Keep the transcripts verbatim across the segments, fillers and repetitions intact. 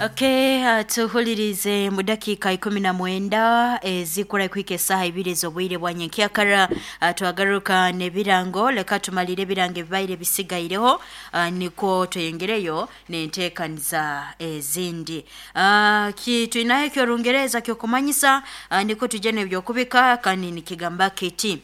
Okay, uh, tuhulirize mu dakiika ikumi na mwenda ezikura kuhika esaaha ibiri ez'obwire bwa nyenkyakara. uh, twagaruka n'ebirango. Leka tumalire ebirango ebibaire bisigaireho, uh, nikwo tweyengereyo n'enteekaniza ezindi. uh, ki twinaho eky'orungereza ky'okumanyisa, uh, nikwo tujye n'ebyokubika kandi nikigamba kiti: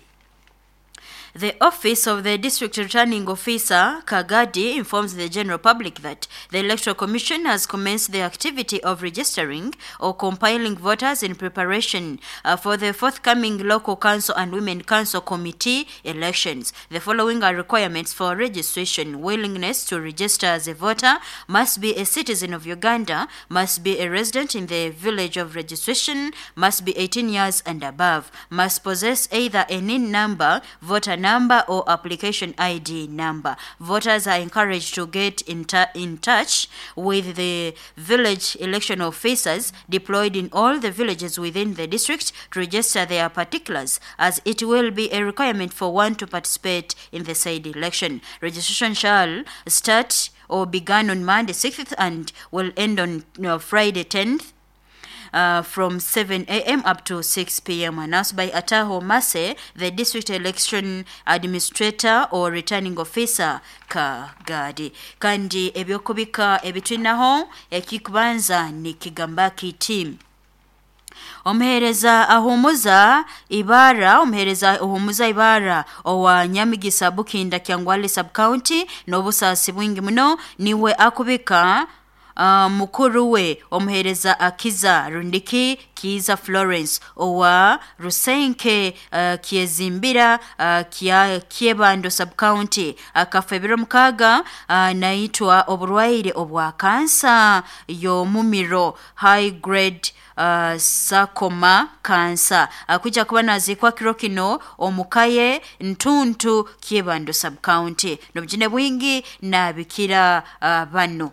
The office of the District Returning Officer, Kagadi, informs the general public that the Electoral Commission has commenced the activity of registering or compiling voters in preparation uh, for the forthcoming local council and women council committee elections. The following are requirements for registration. Willingness to register as a voter: must be a citizen of Uganda, must be a resident in the village of registration, must be eighteen years and above, must possess either a N I N number, voter number or application I D number. Voters are encouraged to get in, in touch with the village election officers deployed in all the villages within the district to register their particulars, as it will be a requirement for one to participate in the said election. Registration shall start or began on Monday sixth and will end on uh, Friday tenth. Uh, from seven A M up to six P M Announced by Ataho Mase, the District Election Administrator or Returning Officer, Kagadi. Kandi ebyokubika ebitwinaho ekikubanza nikigamba kiti: Omuhereza ahumuza ibara omuhereza ahumuza ibara owa Nyamigisa Bukinda Kyangwali Sub-County n'obusasi bwingi muno niwe akubika Uh, mukuru we omuhereza Akiza Rundiki Kiza Florence owa Rusenke uh, Kiezimbira uh, kia Kiebando Sub-County akafa ebiro mukaga, uh, naitwa oburwaire obwa kansa y'omumiro high grade Uh, sarcoma cancer. Akuja kuba nazikwa kiro kino omukaye Ntuntu Kiebando Sub-County. N'obujune bwingi nabikira uh, bano.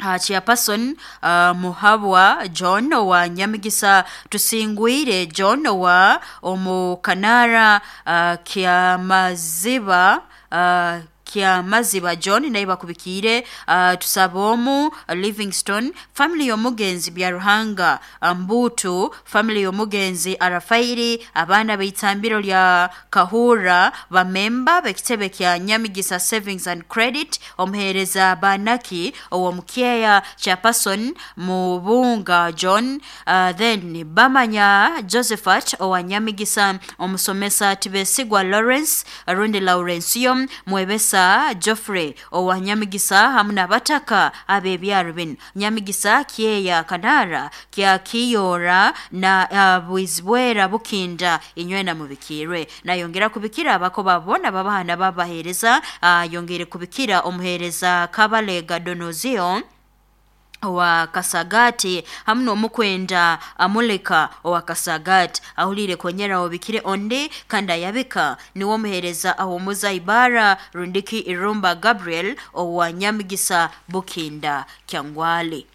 Uh, Chairperson uh, Muhabwa John wa Nyamigisa Tusingwire John wa Omukanara uh, Kyamaziba uh, Kyamaziba John naye bakubikire uh, tusabomu uh, Livingstone family y'omugenzi Byaruhanga Mbutu family y'omugenzi Arafairi abaana b'itambiro lya Kahura bamemba b'ekitebe kya Nyamigisa Savings and Credit omuhereza Banaki ow'omukyeya Chairperson Mubunga John uh, then Bamanya Josephat owa Nyamigisa omusomesa Tibesigwa Lawrence Rundi Laurencio Mwebesa Geoffrey owa Nyamigisa hamu n'abataka ab'ebyaro bino Nyamigisa Kyeya Kanara kya Kiyora na uh, Bwizibwera Bukinda inywena mubikirwe. Nayongera kubikira abako babona babahana babahereza, uh, yongere kubikira omuhereza Kabalega Donozio wa Kasagati hamu n'omukwenda Amuleka owa Kasagati ahulire konyera obikire onde kandi ayabika niwo muhereza ahumuza ibara Rundiki Irumba Gabriel owa Nyamigisa Bukinda Kyangwali.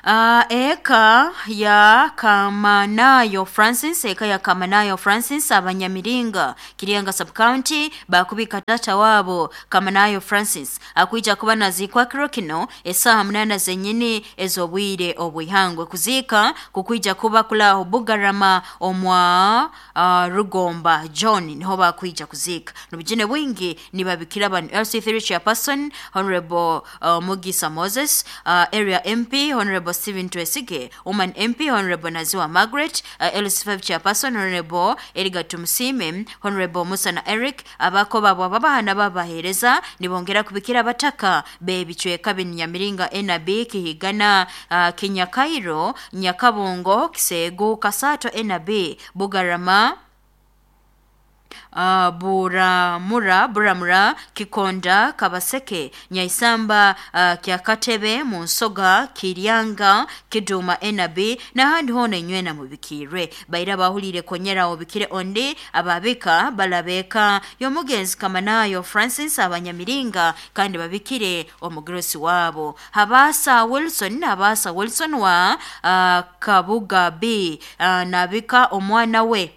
Uh, eka ya Kamanayo Francis eka ya Kamanayo Francis abanyamiringa Kirianga Sub-County bakubika tata wabo Kamanayo Francis akuija kuba nazikwa kiro kino esaha munana zenyini ezobwire obwihangwe. Kuzika kukuija kuba kulaho Bugarama omwa uh, Rugomba John niho bakuija kuzika. Nubujine bwingi nibabikira banu L C three Chairperson Honorable uh, Mugisa Moses, uh, Area M P Honorable Steven Twesige, Woman M P Honorable Naziwa Margaret, uh, L C five Chairperson Honorable Edgar Tumusime, Honorable Musa na Eric, abako babo babahana babahereza nibongera kubikira bataka b'ebicweka b'Nyamiringa N B Kihigana, uh, Kinyakairo, Nyakabongo, Kisegu, Kasato N B, Bugarama, Uh, Buramura, Buramura, Kikonda, Kabaseke, Nyaisamba, uh, Kyakatebe, Munsoga, Kiryanga, Kiduma N B n'ahandi hona inywena mubikire. Baira bahulire konyera obikire onde ababika balabeka y'omugenzi Kamanayo Francis abanyamiringa kandi babikire omugrosi wabo Habasa Wilson Habasa Wilson wa uh, Kabuga B uh, nabika omwana we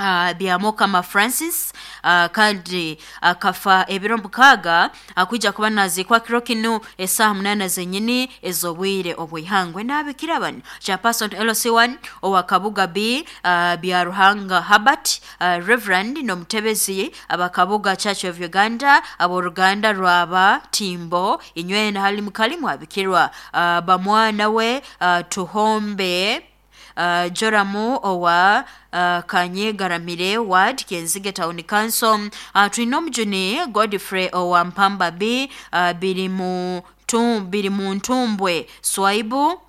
Uh, Byamukama Francis uh, kandi akafa uh, ebiro mukaaga akwija kuba nazikwa kiro kinu esaha munana zenyini ez'obwire obwihangwe. N'abikira bano chairperson L C one owa Kabuga B uh, Byaruhanga Habert uh, Reverend n'omutebezi abakabuga Church of Uganda aboruganda rwaba Timbo inywena hali mukalimu abikirwa uh, bamwana we uh, Tuhombe Uh, Joramu owa uh, Kanyegaramire Ward Kenzige Town Council. uh, twina omujuni Godfrey owa Mpamba B uh, biri mu biri mu Ntumbwe Swaibu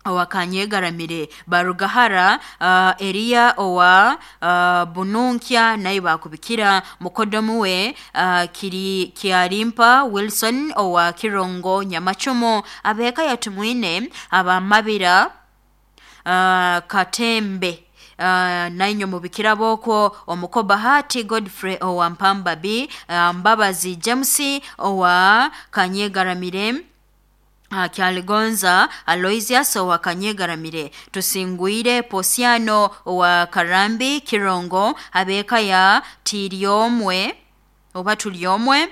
owa Kanyegaramire Barugahara uh, Eria owa uh, Bununkya naye bakubikira mukodomu we uh, kiri Kiarimpa Wilson owa Kirongo Nyamachumo abeka yatumwine abamabira Uh, Katembe uh, nainyo mubikira boko omuko Bahati Godfrey owa Mpamba B uh, Mbabazi James owa Kanyegaramire uh, Kyaligonza Aloysius owa Kanyegaramire Tusingwire Posiano owa Karambi Kirongo abeka ya Tiriomwe oba Tuliomwe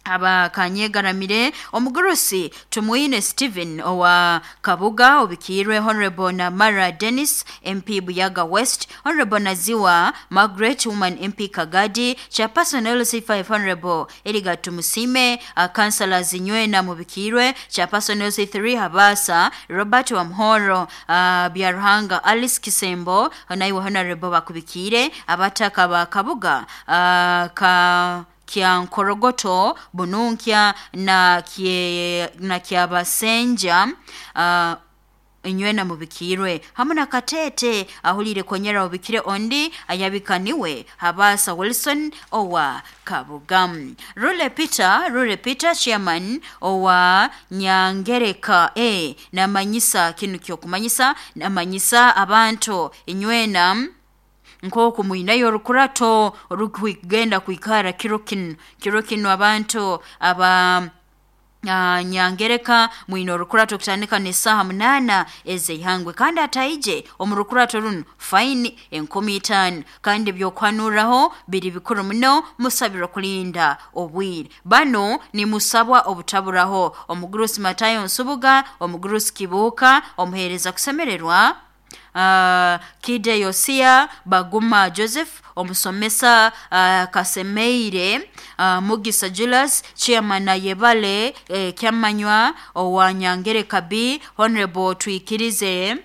aba Kanyegaramire omugurusi Tumwine Stephen owa Kabuga obikirwe Honorable Namara Dennis M P Buyaga West, Honorable Naziwa Margaret Woman M P Kagadi, Chairperson L C five Honorable Eliga Tumusime, uh, Councillor Zinywena mubikirwe, Chairperson L C three Habasa Robert Wamhoro, uh, Byaruhanga Alice Kisembo naiwe Honorable bakubikire abataka ba Kabuga uh, ka Kyankorogoto Bununkya na kie, na Kyabasenja uh, inywena mubikirwe hamwe na Katete ahulire konyera ubikire ondi ayabikaniwe Habasa Wilson owa Kabugam. Rule Peter Rule Peter chairman owa Nyangereka e namanyisa kinu kyokumanyisa namanyisa abantu inywena nkoku muinayo rukurato rukugenda kuikara kiro kinu kiro kinu abantu aba Uh, Nyangereka mwino rukurato kutandika ni saha munana ezeihangwe kandi ataije omurukurato runo faini enkumi itano kandi byokwanuraho biri bikuru muno musabirwa kulinda obwire bano ni musabwa obutaburaho omugurusi Matayo Nsubuga, omugurusi Kibuka, omuhereza kusemererwa Uh, Kide Yosia Baguma Joseph, omusomesa uh, Kasemeire uh, Mugisa Julius, chairman Yebale eh, Kyamanywa owa Nyangereka B, Honorable Twikirize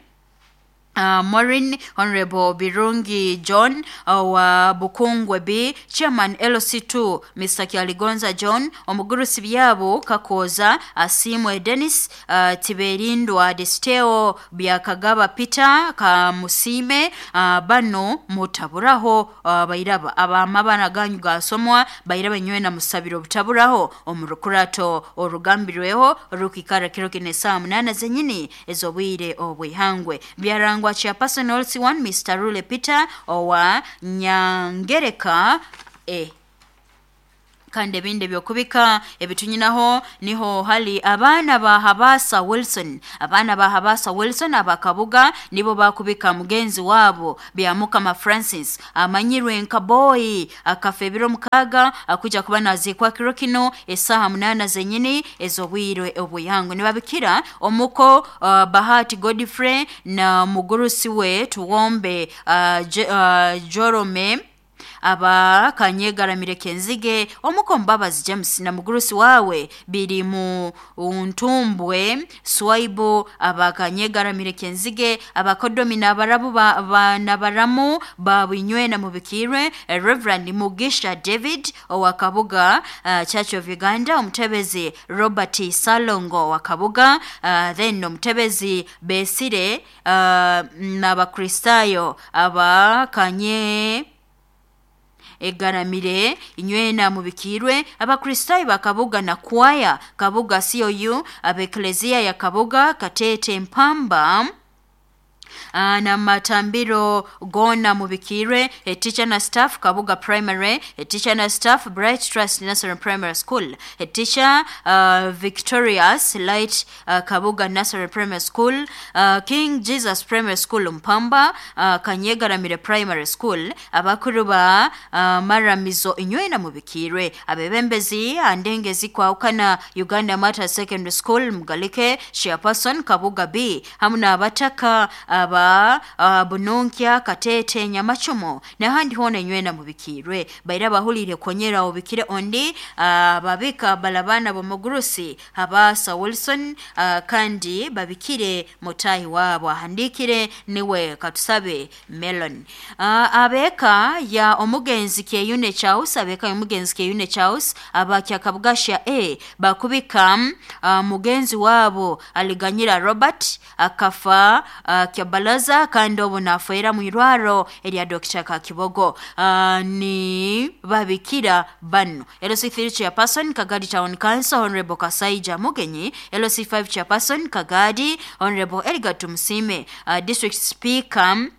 Uh, Maureen, Honorable Birungi John wa uh, Bukungwe B, Chairman L C two Mister Kyaligonza John, omugurusi byabo Kakoza Asimwe Dennis, uh, Tiberindwa Desteo Byakagaba Peter Kamusime, uh, bano mutaburaho uh, bairaba abamabana ganyu gasomwa bairaba nywe na musabiro butaburaho omurukurato orugambirweho rukikara kiro kine saa munana zenyini ezobwire obwihangwe byarangwa Chairperson L C one Mister Rule Peter owa Nyangereka e. Kandi ebindi byokubika ebitunyinaho niho hali abaana ba Habasa Wilson abaana ba Habasa Wilson abakabuga nibo bakubika mugenzi wabo Byamukama Francis amanyirwe nka boy akafa ebiro mukaga akuja kuba nazikwa kiro kino esaha munana zenyini ezobwire obuyango nibabikira omuko uh, Bahati Godfrey na mugurusi we Tuwombe uh, J- uh, Jorome aba Kanyegaramire Kenzige, omuko Mbabazi James na mugurusi wawe biri mu Ntumbwe Swaibu aba Kanyegaramire Kenzige, abakodomi n'abarabu ba, ba nabaramu babinywena mubikirwe Reverend Mugisha David owa Kabuga uh, Church of Uganda, omutebezi Robert Salongo wa Kabuga, uh, then omutebezi Besire uh, n'abakristayo aba Kanye egaramire inywena mubikirwe abakristayo bakabuga na kwaya Kabuga C O U abeklezia ya Kabuga Katete Mpamba Uh, na matambiro gona mubikirwe, a teacher na staff Kabuga Primary, a teacher na staff Bright Trust Nursery Primary School, a teacher uh, Victorious Light uh, Kabuga Nursery Primary School, uh, King Jesus Primary School Mpamba, uh, Kanyegaramire Primary School, abakuru ba uh, Maramizo inywena mubikirwe, abebembezi andengezi kwaukana Uganda Mata Secondary School Mugalike, Chairperson Kabuga B, hamuna abataka aba uh, Bununkya Katete Nyamachomo nahandi hona inywena mubikirwe. Baira bahulire konyera obikire ondi uh, babika balabana bomugurusi Habasa Wilson uh, kandi babikire mutahi wabo ahandikire niwe Katusabe Melon. Uh, abeka ya omugenzi Kyeyune Charles, abeka ya omugenzi Kyeyune Charles abakya Kabugasha A bakubika uh, mugenzi wabo Aliganyira Robert akafa uh, Kyabalaza kandi obu nafera mu irwaro erya Doctor Kakibogo. Uh, ni babikira bano L C three chairperson Kagadi Town Council Honorable Kasaija Mugenyi, L C five chairperson Kagadi Honorable Edgar Tumsime, uh, District Speaker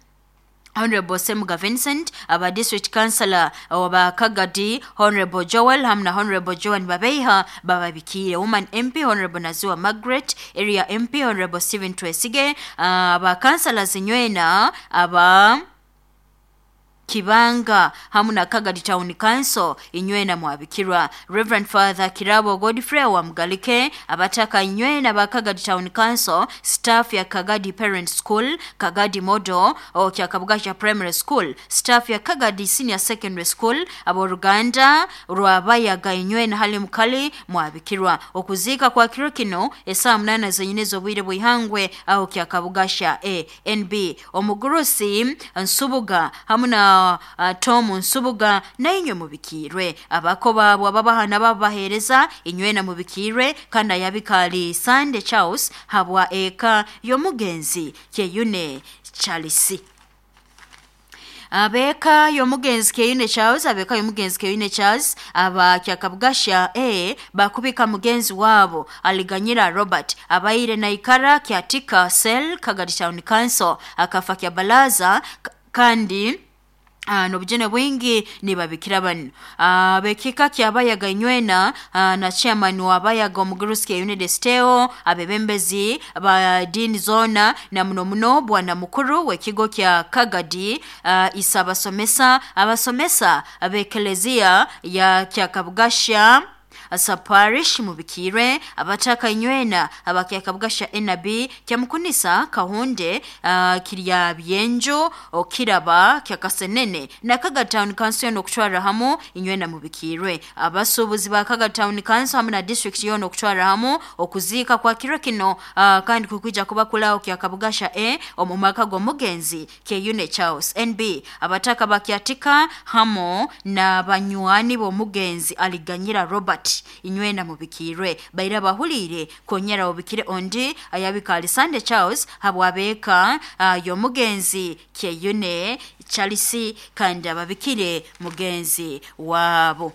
Honorable Semuga Vincent, aba District Councillor oba Kagadi Honorable Joel hamna Honorable Joan Babeiha bababikire, Woman M P Honorable Nazua Margaret, Area M P Honorable Stephen Twesige, uh, aba Councillors inywena aba Kibanga hamuna Kagadi Town Council inywena mwabikirwa, Reverend Father Kirabo Godfrey wa Mugalike, abataka inywena ba Kagadi Town Council, staff ya Kagadi Parent School, Kagadi Modo o kya Kabugasha Primary School, staff ya Kagadi Senior Secondary School, aboruganda rwabayaga inywena hali mukali mwabikirwa. Okuzika kwa kiro kino esaa munana zenyine obwire bwihangwe aho kya Kabugasha A N B omugurusi Nsubuga hamuna Uh, Tom Nsubuga na inywe mubikirwe, abako babo ababahana babahereza inywe na mubikirwe, kandi ayabikali Sunday Charles habwa eka yomugenzi Kyeyune Charles. Abeka yomugenzi Kyeyune Charles, abeka yomugenzi Kyeyune Charles aba Kyakabugasha A bakubika mugenzi wabo Aliganyira Robert abaire na ikara Kyatika Cell Kagadi Town Council akafa Kyabalaza kandi Uh, nobujene bwingi ni babikira bano. Uh, bekika kyabayaga inywena uh, na chairman wa bayaga omugurusi Kyeyune Desteo, abebembezi ba dini zona na muno muno bwana mukuru w'ekigo kya Kagadi uh, isabasomesa abasomesa abekelezia ya Kyakabugasha Saparish mubikire, abataka inywena abakyakabugasha N B kyamukunisa Kahunde uh, kirya byenjo okiraba kyakasenene na Kaga Town Council no kutwara hamu inywena mubikirwe, abasubuzi ba Kaga Town Council hamwe na district yono kutwara hamu okuzika kwa kiro kino uh, kandi kukwija kubakulao kyakabugasha E omumaka gomugenzi Kyeyune Charles N B abataka bakyatika hamo na banywani bomugenzi Aliganyira Robert inywena mubikirwe. Baira bahulire konyera obikire ondi ayabika Sunday Charles habwabeka uh, yomugenzi Kyeyune Charles kandi ababikire mugenzi wabo.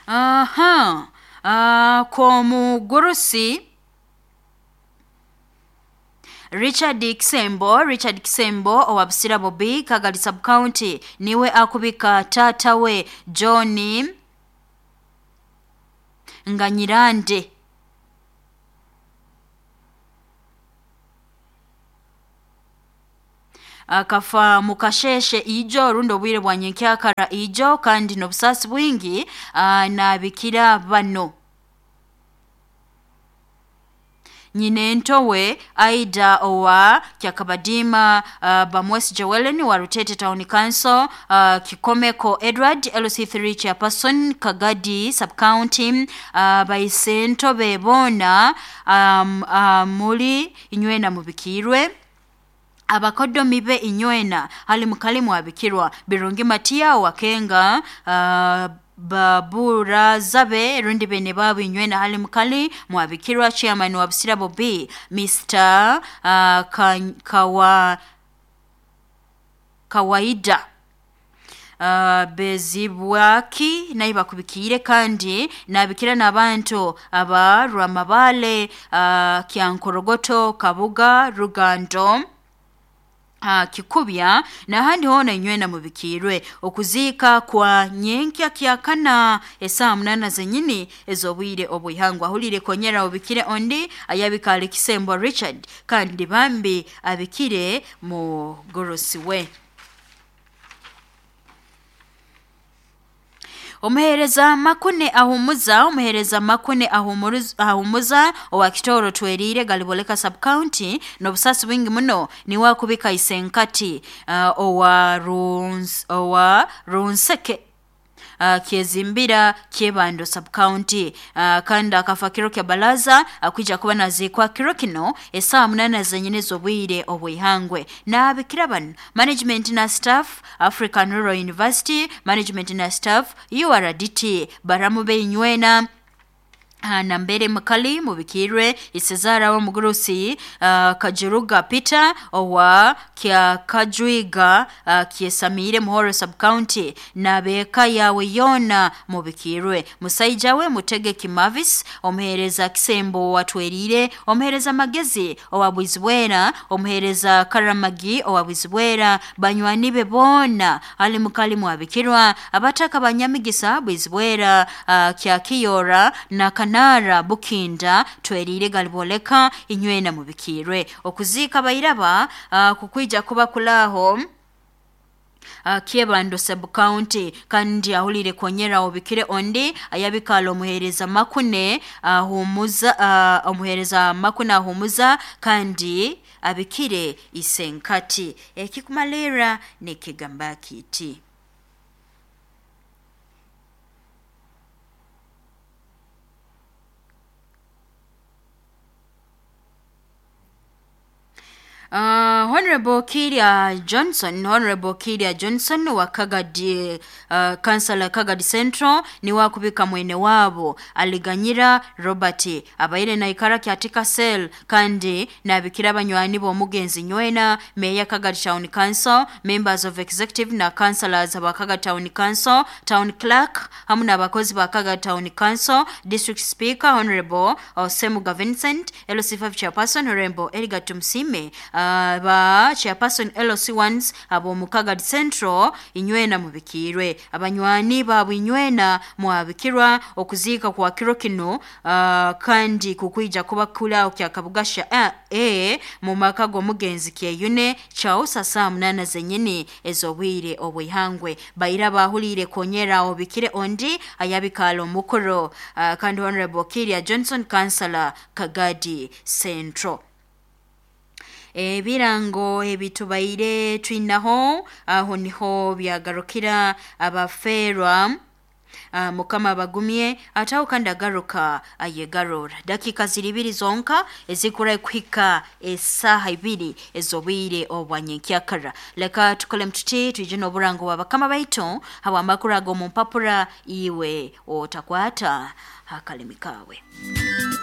Aha uh, komugurusi Richard Kisembo, Richard Kisembo owa Busira Bobi Kagadi Sub County niwe akubika tata we John Nganyirande akafa mukasheshe ijo rundo bwire bwa nyenkyakara ijo kandi nobusasi bwingi nabikira bano nyine ntowe Aida owa Kyakabadima uh, Bamwesi Joellen wa Rutete Town Council, uh, Kikomeko Edward L C three chairperson Kagadi Sub County, uh, baisento bebona um, uh, muli inywena mubikirwe, abakodomi be inywena hali mukalimu abikirwa, Birungi Matia wa Kenga uh, Babura zabe rundi bene babu inywena hali mukali mwabikirwa, chairman wa Busira Bobi Mister uh, ka, kawa kawaida Uh, bezibwaki naye bakubikiire kandi nabikira n'abantu aba Rwamabale, uh, Kyankorogoto, Kabuga, Rugando, Uh, Kikubya n'ahandi hoona inywena mubikirwe. Okuziika kwa nyenkya kyakana esaaha munana zenyini ez'obwire obwihangwa. Ahulire konyera obikire ondi ayabikale Kisembo Richard kandi bambi abikire mugorosi we. Omuhereza Makune ahumuza omuhereza Makune ahumuza owa Kitoro Twerire Galiboleka sub county n'obusasi bwingi muno niwe akubika isenkati uh, owa Runs, owa Runseke Uh, Kyezimbira Kyebando sub county uh, kandi akafa kiro kya balaza akwija kuba nazikwa kiro kino esaa munana zenyine z'obwire obwihangwe. N'abikira bano management na staff African Rural University management na staff U R D T baramu beinywena nambere mukali mubikirwe isezara wa mugurusi uh, Kajuruga Peter owa kya Kajwiga uh, kyesamire Muhoro sub county na beka yawe yona mubikirwe. Musaija we Mutegeki Mavis, omuhereza Kisembo watwerire, omuhereza Magezi owa Bwizibwera, omuhereza Karamagi owa Bwizibwera, banywani be bona ali mukali mwabikirwa abataka banyamigisa Bwizibwera uh, kya Kiyora na Kanara Bukinda Twerire Galiboleka inywena mubikirwe. Okuziika bairaba uh, kukwija kuba kulaho Uh, Kyebando sub county kandi ahulire konyera obikire ondi ayabikala omuhereza Makune ahumuza uh, omuhereza Makune ahumuza kandi abikire isenkati. Ekikumalera nekigamba kiti. Uh, Honorable Kiria Johnson, Honorable Kiria Johnson wa Kagadi, uh, Councilor Kagadi Central ni wakubika mwene wabo aliganyira Robert abaire na ikara kyatika sel kandi nabikira banywani b'omugenzi nywena Mayor Kagadi Town Council, members of executive na councillors aba Kagadi Town Council, Town Clerk hamu n'abakozi ba Kagadi Town Council, District Speaker Honorable Semuga Vincent, L C five Chairperson Honorable Edgar Tumsime, Uh, ba chairperson L C ones abo mu Kagadi Central inywena mubikirwe. Abanywani babu inywena mwabikirwa okuziika kwa kiro kino uh, kandi kukwija kuba kula kya Kabugasha a e mu maka g'omugenzi Kyeyune chausa saa munana zenyini ez'obwire obwihangwe. Baira bahulire konyera obikire ondi ayabikala omukoro uh, kandi Honorable Kiria Johnson Councilor Kagadi Central. Ebirango ebitubaire twinaho aho niho byagarukira abaferwa uh, mukama bagumye ataho kandi agaruka ayegarura. Dakika ziribiri zonka ezikura kuhika esaha ibiri ezobwire obwanyenkyakara. Leka tukole mtuti tuje n'oburango wa bakama baito hawa amakuru ago mu mpapura iwe otakwata hakalimi kawe.